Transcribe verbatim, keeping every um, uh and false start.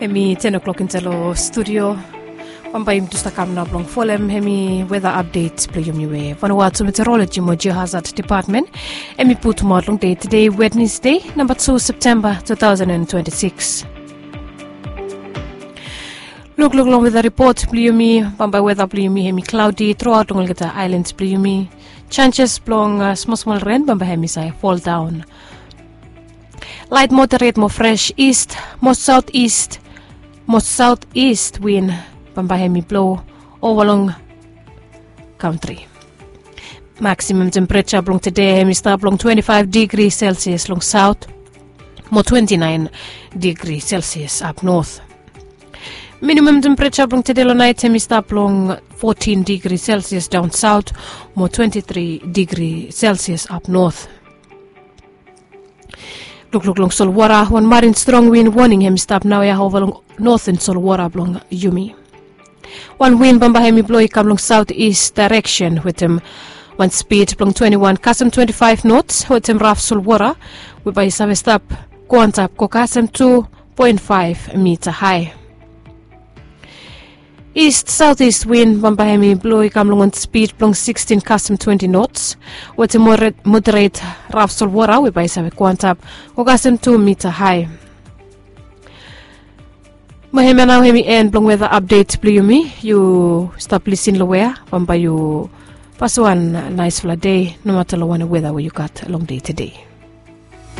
Em i ten o'clock insaed long studio. Bambae yumi tu stap kam nao blong folem em i weda apdet blong yumi we vanua tu meteorologi mo geohazard depatmen em i putumaot long dei tede, wednesde namba tu septemba two thousand and twenty-six. Lukluk long weda ripot blong yumi. Bambae weda blong yumi em i klaudi truaot long olgeta aelan blong yumi. Sanses blong smosmol ren bambae em i save foldaon. Laet moderet mo fres ist mo saotist mo saotist win bambae em i blo ova long kantri. Maksimam tempereja blong tede em i stap long twenti-faef digri selsias long saot mo twenti-naen digri selsias ap not. Minimam tempereja blong tede long naet em i stap long fotin digri selsias daon saot mo twenti-tri digri selsias ap not. Lukluk long solwota. Wan marin strong win woning em i stap naoia ova long noten solwota blong yumi. Wan win bambae em i blo i kam long saotist daereksen wetem wan spid blong twenti-wan kasem twenti-faef nots wetem raf solwota we bae i save stap go antap go kasem tu poen faef mita hae. Ist saotist win bambae em i blo i kam long wan spid blong sikstin kasem twenti nots wetem moderet raf solwota we bae i save go antap go kasem tu mita hae. Mo hemia nao em i en blong weda apdet blong yumi. Yu stap lisin long wea bambae yu paswan naesfala dei nomata long wanem weda we yu gat long dei tede.